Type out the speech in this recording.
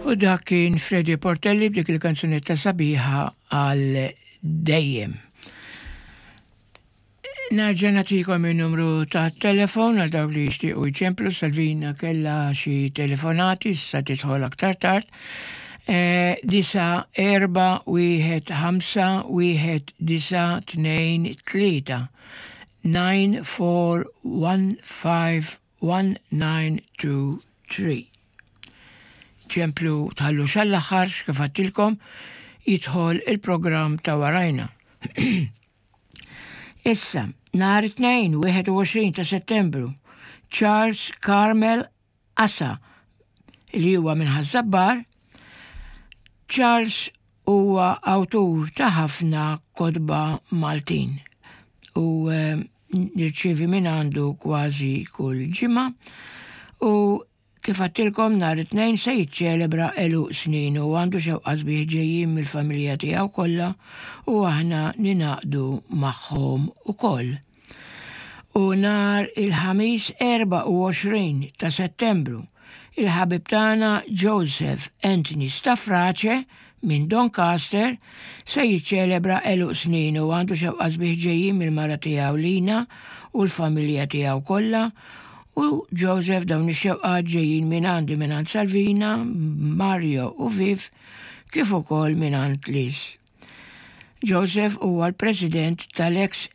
U dak kien Freddy Portelli b'dik il-kanzunetta sabiħa għal dejjem. Narġa' nagħtikom in-numru ta' telefon għal dawk li jixtiequ jċemplu Salvina kellha xi telefonati issa tidħol aktar tard. Eh, disa erba wieħed ħamsa wieħed disa tnejn tlieta 9 4 1 5 1 9 2 3. Ċemplu tħallux għall-aħħar kif għedtilkom jidħol il-programm ta' warajna. Issa, nhar it-Tnejn 21 ta' Settembru, Charles Carmel Asa, li huwa minn Ħaż-Żabbar, Charles huwa awtur ta' ħafna kotba Maltin u eh, nirċievi minn għandu kważi kull ġimgħa u Kif għedtilkom nhar it-Tnejn se jiċċelebra għeluq sninu u għandu xewqa sbieħ ġejjin mill-familja tiegħu kollha u aħna ningħaqdu magħhom ukoll. U nhar il-Ħamis 24 ta' Settembru, il-ħabib tagħna Joseph Anthony Stafrace minn Doncaster se jiċċelebra għeluq sninu u għandu xewqa sbieħ ġejjin mill-mara tiegħu Lina u l-familja tiegħu kollha U Joseph dawn ix-xewqat ġejjin mingħandi mingħand Salvina, Mario u Viv kif ukoll mingħand Liz. Joseph huwa l-President tal-ex.